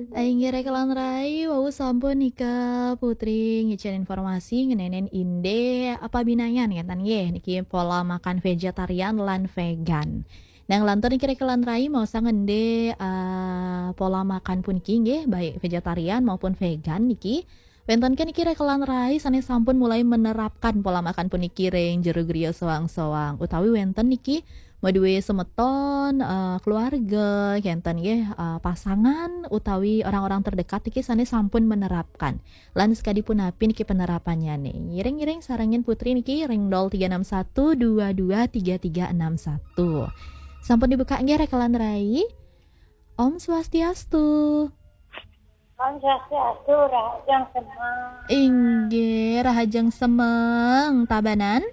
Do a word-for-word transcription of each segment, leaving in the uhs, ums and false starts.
Inggih, rekan rai, wau sampun nika Putri ngicen informasi ngenenen inde apa binayan ngeten nggih, niki pola makan vegetarian lan vegan. Nah, nglantur niki rekan rai, mau sangende, eh, pola makan puniki nggih, baik vegetarian maupun vegan niki. Wenten ke niki rekan rai sane sampun mulai menerapkan pola makan puniki ring jero griya soang-soang, utawi wenten niki madue semeton, eh, keluarga, kenten nggih, eh, pasangan utawi orang-orang terdekat niki sane sampun menerapkan. Lan sekadi punapi niki penerapannyane? Ngiring-ngiring sarengin Putri niki ring nol tiga enam satu dua dua tiga tiga enam satu. Sampun dibuka nggih rekan rai? Om Swastiastu. Om Swastiastu, rahajeng semeng. Inggih, rahajeng semeng. Tabanan?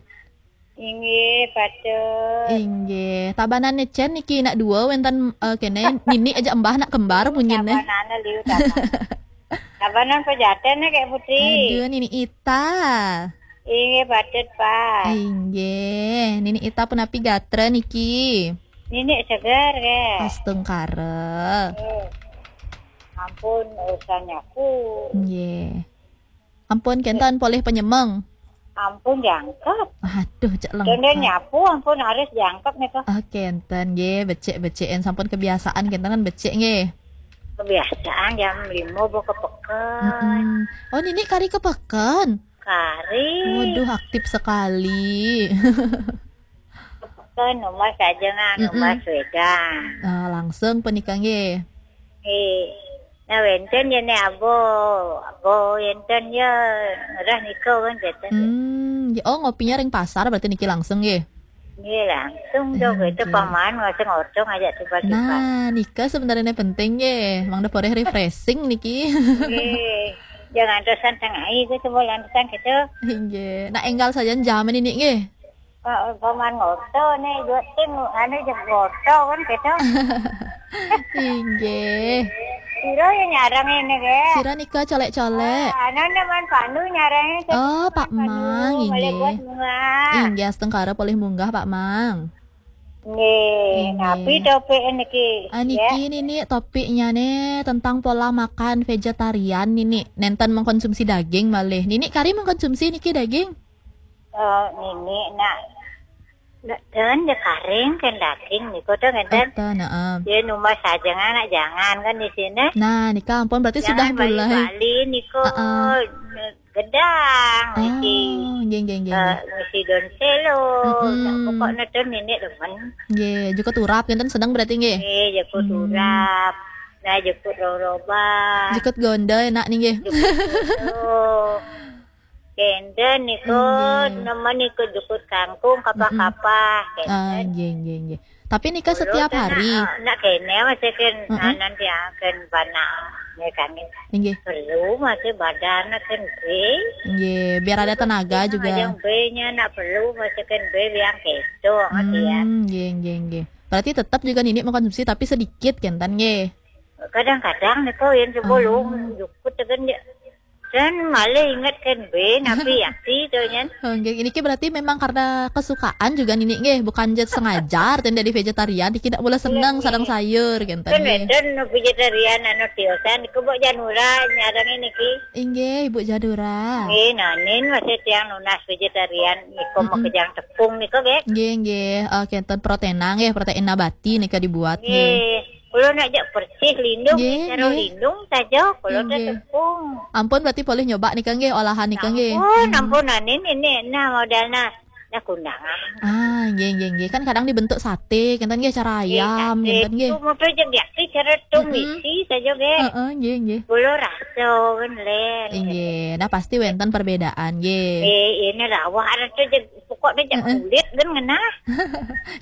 Inggih, patut. Inggih. Tabanan necen niki nak dua wenten, eh, kene nini aja embah nak kembar punyine. Tabanan liu tabanan. Tabanan pejaten ya, Kak Putri. Aduh, nini Ita. Inggih, patut, Pak. Inggih, nini Ita punapi gatra niki? Nini segar, Kak. Astungkara. Eh, ampun, urusan nyapu. Nggih. Ampun, kenten polih penyemeng. Ampun, jangkep. Aduh, cek lengkap. Kenten nyapu, ampun, harus jangkep nih, tuh. Ah, kenten, nggih, becik-becikin. Sampun kebiasaan, kenten kan becik, nggih. Kebiasaan, jam lima bawa ke peken. Mm-mm. Oh, nini kari ke peken? Kari. Waduh, aktif sekali. Ke rumah saja, nggak, mm-mm, rumah sepeda. Ah, langsung punika nggih. Nggih. Nah, wenten ya nih, abo, abo wenten ya, ngerah nika kan, wenten. Hmm, ya, oh, ngopinya ring pasar berarti niki langsung nggih? Nggih, langsung dong, hmm, itu nggih. Paman ngoseng otong aja tiba-tiba. Nah, nika sebenarnya penting nggih. Mangda poreh refreshing niki. Nggih. Jangan terusan tengah itu, coba lantesan gitu. Nggih. Nah, enggal saja jaman ini nggih. Pak, paman ngoto nih, dua tim, anu, jeg ngoto kan gitu. Inggih. Sira ya nyarang ini, ge. Sira nika colek-colek. Ah, anu, nih, Man Pandu nyarang ini. Oh, Pak Mang, inggih. Boleh buat bunga. Inggih, astungkara polih munggah, Pak Mang. Nggih, inggih. Napi topik niki? Ah, niki, ya. Nini topiknya nih tentang pola makan vegetarian, nini. Nenten mengkonsumsi daging malih. Nini kari mengkonsumsi niki daging? Eh, nini nak, nak ten ya karing kan daging niko tuh ngeten. Eten, heeh. Ya, numah saja, anak jangan kan di sini. Nah, nika ampun berarti sudah mulai. Jangan bali-bali niko, heeh, gedang, ngisi, oh, nggih, nggih, nggih, eh, nggih. Ngisi daun selo. Mm-mm. Nah, pokoknya tuh nini demen. Nggih, jukut urap ngenten sedang berarti nggih. Nggih, jukut, hmm, urap. Nah, jukut roroba. Jukut gonda enak nih nggih. Jukut gonda. Kenten niku, nggih, nemen niku jukut kangkung, kapah-kapah, mm-mm, kenten. Ah, nggih, nggih, nggih. Tapi nika setiap hari? Nak, nak kene masih ken, mm-mm, anan dia ken bana, ya kan. Nggih. Perlu masih badan ken be. Nggih, biar ada tenaga juga. Yang be-nya nak perlu masih ken be yang keto, ya. Hmm, nggih, nggih, nggih. Berarti tetap juga nini mengkonsumsi tapi sedikit kenten nggih. Kadang-kadang niku yang sebelum, hmm, jukut kan dia. Dan malah ingat kan be, napi yakti tuh nyen. Oh, nggih. Ini ki berarti memang karena kesukaan juga nini nggih, bukan jet sengaja ten dari vegetarian, niki tidak boleh seneng sareng sayur gitu. Kan nggih. Enten vegetarian anu tiosan, niku Mbok Janura nyarang ini ki. Inggih, Ibu Janura. Nggih, nanin masih tiang nunas vegetarian, niku, mm-mm, makejang tepung niku, nggih. Nggih, nggih. Eh, kenten protein nggih, protein nabati nika dibuat nggih. Nggih. Kulo nak jak bersih lindung, nggih, cara nggih, lindung saja, kulo teh, nggih, tepung. Ampun, berarti boleh nyoba nika nggih, olahan nika nggih. Ampun, hmm, ampun, nah, ini, ini, nah, modal, nah, nah, kundangan. Ah, nggih, nggih, nggih. Kan kadang dibentuk sate, kenten nggih, cara ayam, nggih, sate kenten nggih. Itu mau aja biasa cara, mm-mm, tumisi saja nggih. Heeh, nggih, nggih. Kulo rasa kan len. Nggih, nah pasti wenten perbedaan nggih. Eh, ini rawah ada tuh jeg Pokoknya jak, heeh, kulit kan ngenah.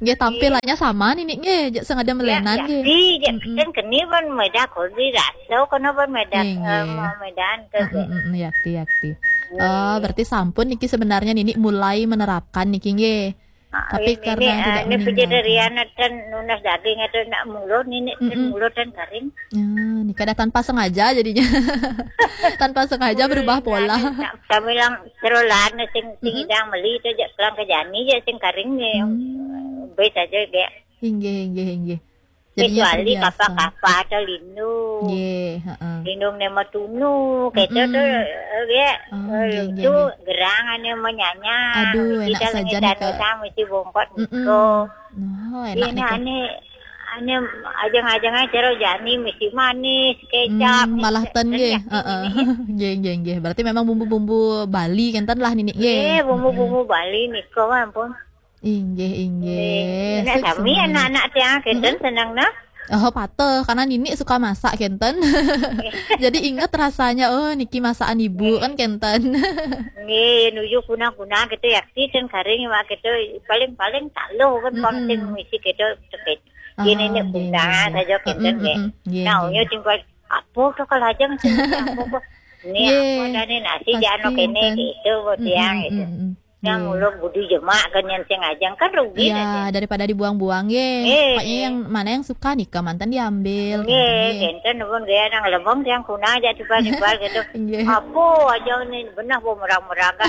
Nggih, tampilannya sama nini nggih, jak sing ada melenan nggih. Ya, ya, di, jak, mm-mm, kan keni pun meda kodi raso, kena pun meda, nggih, eh, nggih. Mau medan ke, mm-mm, nggih. Mm-mm, yakti, yakti. Nggih. Oh, berarti sampun niki sebenarnya nini mulai menerapkan niki nggih. Ah, tapi ini, karena ini, tidak, ah, ini meninggalkan. Vegetarian dan nunas daging itu nak mulut nini, mm-mm, mulut dan kering. Ya, ini kada tanpa sengaja jadinya. Tanpa sengaja berubah pola. Kami lang serolan sing, sing, mm-mm, idang meli tu je kelang kejani je sing kering ni. Hmm. Be saja ge. Inggih, inggih, inggih. Kecuali kapa-kapa atau lindung. Nggih, heeh. Lindung ne matunu, gitu tuh, eh, ya. Oh, eh, nggih, nggih, itu nggih. Gerang ane manyanya. Aduh, mesti enak saja nih, Kak. Mesti bongkot, mm-mm, niko. Oh, enak nih, Kak. Ane, ane ajeng-ajeng ae jero jani mesti manis, kecap. Hmm, malah ten nggih. Heeh. Nggih, nggih, nggih. Berarti memang bumbu-bumbu Bali kenten lah nini nggih. Nggih, bumbu-bumbu Bali niko, ampun. Inggih, inggih. Nggih. Nek sami anak-anak tiang kenten seneng nah. Oh, pateh, karena nini suka masak kenten. Jadi inget rasanya, oh, niki masakan ibu kan kenten. Nggih, nuju kuna-kuna gitu ya, si ten kering mak gitu, paling-paling taluh kan. Mm-mm. Kon sing misi gitu, gitu. Ah, nggih, nggih, nggih. Saja kenten nggih. Mm-mm, mm-mm. Nggih, nah, nggih. Uyo tinggal apa to kalau aja sing apa kok. Ini nggih, apa dah nih nasi pasti jano kene enten. Gitu, buat tiang gitu. Mm-mm, mm-mm. Yang ulun budi jemak kan yang sing ajeng kan rugi. Iya, daripada dibuang-buang, ye. Pokoknya yang mana yang suka nih, Kak, mantan diambil, gitu, nggih. Kenten pun gaya nang lebong yang kuna aja tiba-tiba gitu. Nggih. Apa aja nih, benah bu merang-merang kan.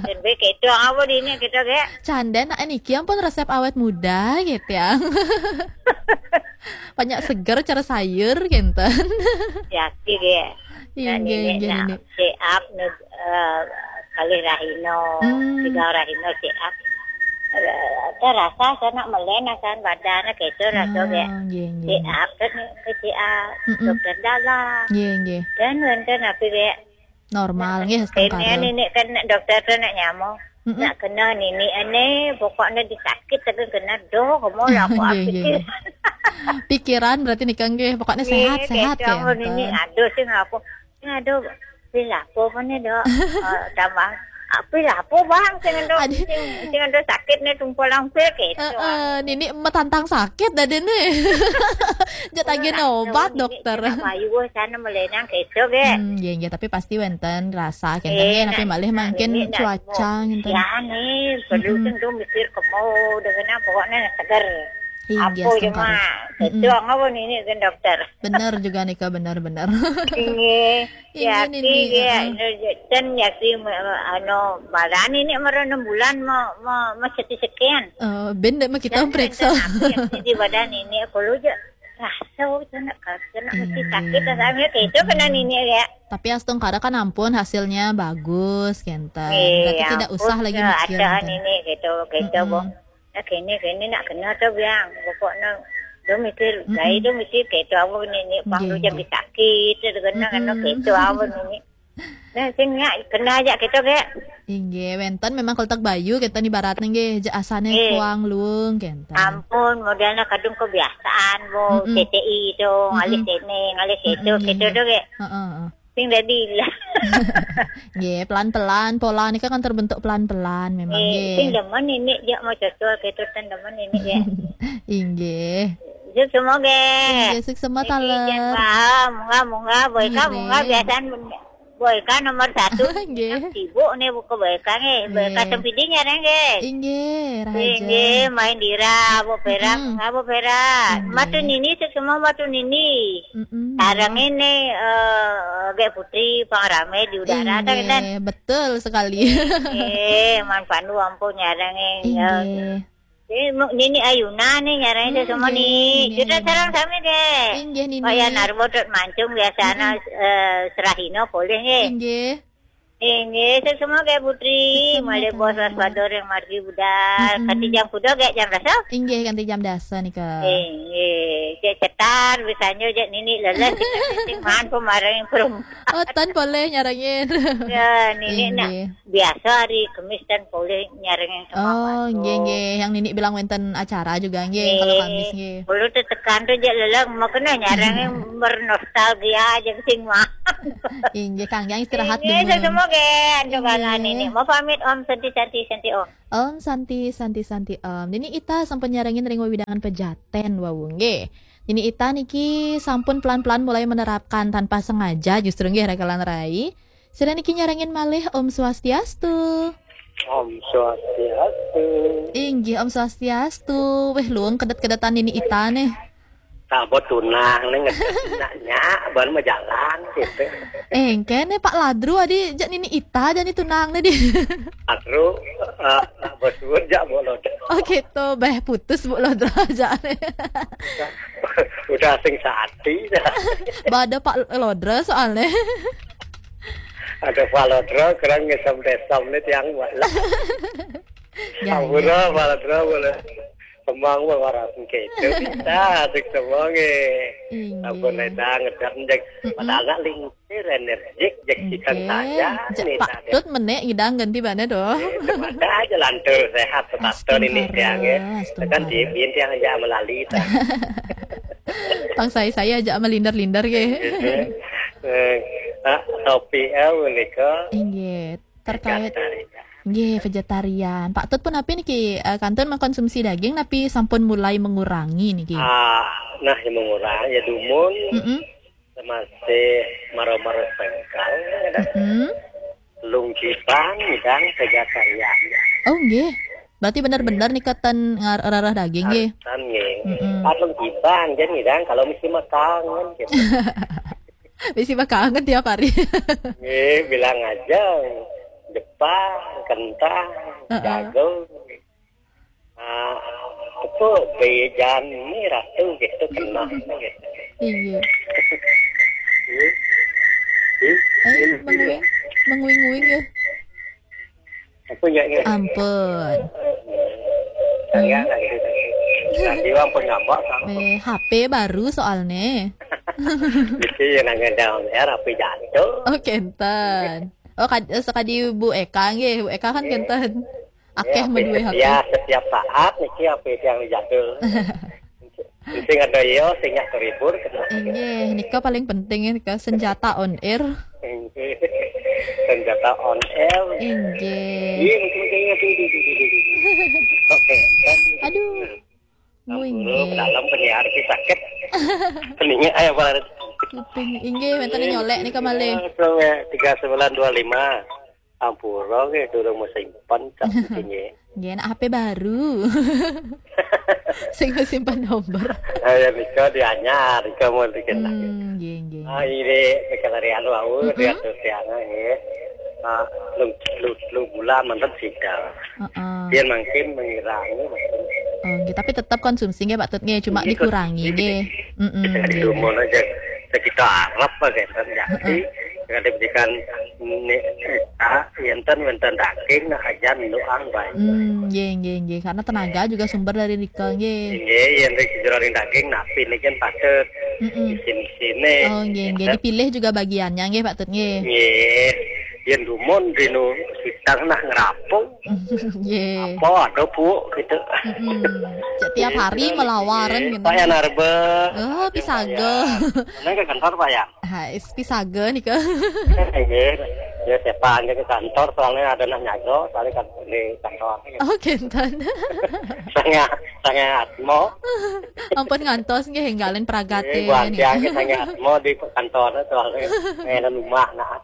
Dan baik itu, apa di ini gitu, kayak. Canda, nak niki ampun resep awet muda, gitu ya. Banyak seger cara sayur, kenten. Yaki, kayak. Inggih, inggih, nak nini. Siap, eh, kalih rahina, hmm, tiga rahina siap. Eh, terasa sanak melen asan badan gitu, rasa kayak. Ah, nggih, nggih. Siap, kan, ke siap. Mm-mm. Dokter dalam. Nggih, nggih. Dan wenten apa kayak. Normal, nggih, kene setengkara. Ini kan dokter tu nak nyamuk. Mm-mm. Nak kena nini ane, pokoknya disakit tapi kena doh, kamu lah aku. Nggih, nggih, pikir. Nggih. Pikiran berarti nih, Kang, nggih. Pokoknya sehat-sehat gitu, ya, ampun, nini enten. Aduh sih ngaku. Ini aduh, pil apa nih, Dok? Eh, tambah, ah, pil apa, Bang? Sing ado, aduh, sing, sing ado sakit nih, tumpul langsir gitu. Heeh, nini metantang sakit dah dene. Jat agen obat, nini dokter. Kena payu, wah, sana melenang gitu, ge. Hmm, nggih, nggih, tapi pasti wenten rasa kenten, eh, nggih, tapi nah, malih nah, mangkin nini nak cuaca, kenten. Ya nih, perlu, mm-mm, tentu mikir kemau dengan pokoknya seger. Inggih, apa setengkara. Cuma, mm-mm, itu apa nini kan dokter? Bener juga nih, Kak, bener, bener. Inggih. Inggih, ya, nini, heeh. Anu, ya, si, anu, badan ini mara enam bulan mau, mau, mau seti sekian. Eh, ben dek mah kita periksa. Dan aku yang di badan ini, aku lu aja rasa, oh, kena, kena mesti sakit, inggih, rasanya kayak itu kena nini ya. Tapi astungkara kan ampun hasilnya bagus, kenten. Berarti tidak usah lagi mikir, kenten. Ini gitu, gitu, mm-mm. Nah, kene, kene nak kena tu biang. Pokoknya, dia mikir, mm-mm, saya tu mikir kayak tu apa ni, ni pang tu jadi sakit, tu kena, kena kayak tu apa ni, ni. Nah, sing nak kena aja gitu, kayak. Inggih, wenten memang keletak bayu, kenten ibaratnya nggih, je asane kuang luung, kenten. Ampun, modelnya kadung kebiasaan, bu, mm-mm, C C I tu, mm-mm, ngalih sini, ngalih situ, mm-mm, gitu, nggih, tu, kayak. Heeh, heeh. Sing dadi lah. Nggih, pelan-pelan, pola nika kan terbentuk pelan-pelan memang, nggih, nggih. Sing demen ini, ya, mau cocok, gitu, ten demen ini, ya. Inggih. Sukses semoga. Inggih, sukses semoga, niki, taler. Jan paham, munggah, munggah, boy, nggih, ka, munggah, nggih. Biasaan, boy, ka nomor satu. Nggih. Sibuk nih, buka boy, ka, nggih. Boy, ka, nggih, sempidi nyarang, nggih. Inggih, raja. Inggih, main dira, bu, pera, mm-mm, munggah, bu, pera. Inggih. Matu nini, sukses semua matu nini. Mm-mm. Sareng ini, eh, Gek Putri, pangrame di udara, inggih, kan? Betul sekali. Eh, man pandu ampun nyarang, eh, ya. Inggih. Eh, mu-, nini Ayuna nih nyarang itu semua nih. Inggih, inggih. Kita sareng sami deh. Inggih, nini. Kaya Narbo dot mancung biasanya, mm-mm, eh, Serahino boleh, nggih. Inggih. Inggih, sukses semua, Gek Putri. Sukses semua, malih bos, Kak. Waspada ring margi budal. Mm-mm. Kanti jam kuda, Gek, jam dasa? Inggih, kanti jam dasa nika. Inggih, Gek cetar, bisanya, Gek nini leles, sing maan pemaring perum. Oh, tan boleh nyarengin. Ya, nini nak, inggih, biasa hari Kemis tan boleh nyarengin sama. Oh, nggih, nggih. Yang nini bilang wenten acara juga, nggih, kalau Kamis, nggih. Kulo tetekan tu je lelang, makanya nyarang yang bernostalgia aja sing mah. Inggih, Kang, yang istirahat dulu. Inggih, semoga antuk, inggih, kalangan ini. Mau pamit, Om Santi, Santi, Santi, Om. Om Santi, Santi, Santi, Om. Nini Ita sampun nyarengin ring wewidangan Pejaten, wau, nggih. Nini Ita niki sampun pelan-pelan mulai menerapkan tanpa sengaja justru, nggih, rakalan rai. Sira niki nyarengin malih, Om Swastiastu. Om Swastiastu. Inggih, Om Swastiastu. Weh, luung kedet-kedetan nini Ita nih. Tak buat tunang nih, ngedet nak nyak, baru mau jalan gitu. Eh, kene Pak Ladru adi jak nini Ita jani tunang nih di. Ladru, eh, nak buat suut jak, Bu Lodro. Oh gitu, beh putus, Bu Lodro, jak nih. Udah sing sati. Bada Pak Lodra soalnya. Ada Pak Lodra, kurang ngesem desem nih tiang wala. Ampura, Pak Lodra, boleh. Kembang, wah, waras gitu. Kita asik semua nge. Inggih. Ampun, Leda, ngedam, jek. Padahal nak lingsir, energik, jek, ikan saja. Jek, nih, Pak Tut menek ngidang ganti bana doh. Ada aja lantur, sehat, sehat, ini tiang, ya. Kan di bin tiang aja melali, ta. Tang saya, saya aja melinder-linder, ya. Eh, ah, topi, eh, menika. Inggih. Terkait, nggih, vegetarian. Pak Tut pun napi niki, eh, kantun mengkonsumsi daging, napi sampun mulai mengurangi niki? Ah, nah, yang mengurangi ya dumun. Mm-mm. Masih maro-maro sengkal, ada. Mm-mm. Lung kibang, dan vegetarian. Oh, nggih. Berarti benar-benar nika ten ngar-, rarah daging, nggih? Tan, nggih. Mm-mm. Pat lung kibang, jadi ngidang kalau mesti makan, kan, gitu. Bisi makan tiap hari. Nggih, bilang aja Jepang, kentang, heeh, jagung. Ah, itu bejan ini ratu gitu, kena gitu. Iya. Iya. Eh, menguing, menguing-uing ya. Aku ya, ya. Ampun. Enggak, enggak gitu. Nah, dia ampun ngambek, sama. Eh, H P baru soalnya. Itu yang nanya down, ya, rapi jatuh. Oh, kenten. Oh, kad-, sekadi Bu Eka nggih, Bu Eka kan kenten. Akeh, ya, meduwe H P. Ya, setiap saat niki H P yang jatuh. Sing ada ya, sing nyak terhibur, gitu. Inggih, nika paling penting ya, nika senjata on air. Inggih. Senjata on air. Inggih. Iya, mungkin, mungkin, iya, iya, iya, iya, iya. Oke. Aduh. Ampun, nguing, nggih. Dalam penyiar ki sakit. Peninge, ayo, Pak Laris. Kuping, inggih, wenten nyolek nika malih. Tiga sembilan dua lima. Ampura nggih, durung mau simpen, tak nggih. Nggih, nak H P baru. Sing mau simpen nomor. Ayo, nika dianyar, nika mau dikenal. Hmm, nggih, nggih. Ah, ini, nika lari anu, au, mm-mm, diatur tiang, nggih. Ah, lu, lu, lu bulan mantan sida. Heeh. Dia makin mengurangi, makin. Oh, nggih, tapi tetap konsumsi nggih, Pak Tut, nggih, cuma dikurangi, nggih. Mm-mm, nggih. Dumun aja sekitar Arab, Pak, kan, ya. Heeh. Jadi, dengan diberikan ini, ah, enten, enten daging, nah, aja doang, Pak. Hmm, nggih, nggih, nggih. Karena tenaga juga sumber dari nika, nggih. Nggih, yang dari jero daging, napi ini kan patut. Mm-mm. Isin-isine. Oh, nggih, nggih. Enten. Dipilih juga bagiannya, nggih, Pak Tut, nggih. Nggih. Yen dumun dino sidang nak ngerapung. Nggih. Apa ada, Bu, gitu. Mm-mm. Cek tiap hari melawaran gitu. Pak ya, Narbe. Oh, pisaga. Nang ke kantor, Pak ya? Ha, is pisaga nika. Nggih. Ya, siapa aja ke kantor, soalnya ada nak nyago, soalnya kan di kantor. Oh, kenten. Sangat, sangat mau. Ampun ngantos nggih, enggalin pragate. Nggih, buat nika. Tiang sangat mau di kantor, soalnya enak rumah, nah.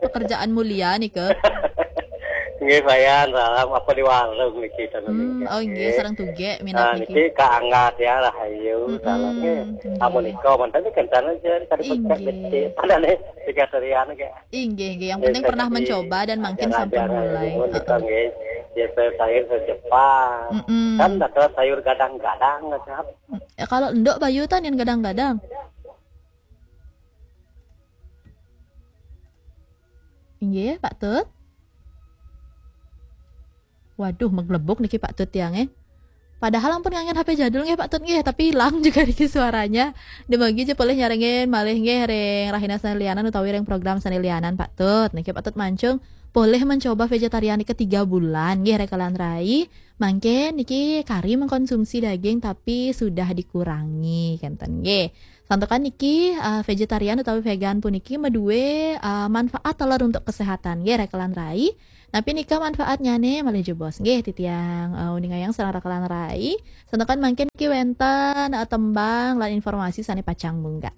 Pekerjaan mulia nika. Nggih, Bayan, salam apa di warung niki, Tan. Hmm, oh, nggih, sareng tugek minat. Nah, niki. Niki Kak Angga ya, Rahayu, salam nggih. Mm-mm, nggih. Amun nika, mantan niki kenten aja, tadi. Inggih. Pencet gede. Padahal nih, tiga serian, nggih. Inggih, nggih. Yang penting pernah mencoba dan makin sampai mulai. Heeh. Nggih. Ya, saya sayur ke Jepang. Mm-mm. Kan ada sayur gadang-gadang, kan? Ya, kalau ndok bayu tan yang gadang-gadang. Inggih, Pak Tut. Waduh, meglebuk niki Pak Tut tiang, eh. Padahal ampun nganggen H P jadul nggih, Pak Tut nggih, tapi hilang juga niki suaranya. Dumugi aja polih nyarengin malih nggih ring rahina sane lianan utawi ring program sane lianan, Pak Tut. Niki Pak Tut mancung polih mencoba vegetarian niki tiga bulan nggih, rekelan rai. Mangke niki kari mengkonsumsi daging tapi sudah dikurangi, kenten nggih. Santukan niki, eh, vegetarian utawi vegan puniki meduwe, eh, manfaat taler untuk kesehatan nggih, rekelan rai. Napi nika manfaatnyane malih jebos nggih, titiang, eh, uningayang sareng rekelan rai. Santukan mangkin niki wenten, eh, tembang lan informasi sane pacang munggah.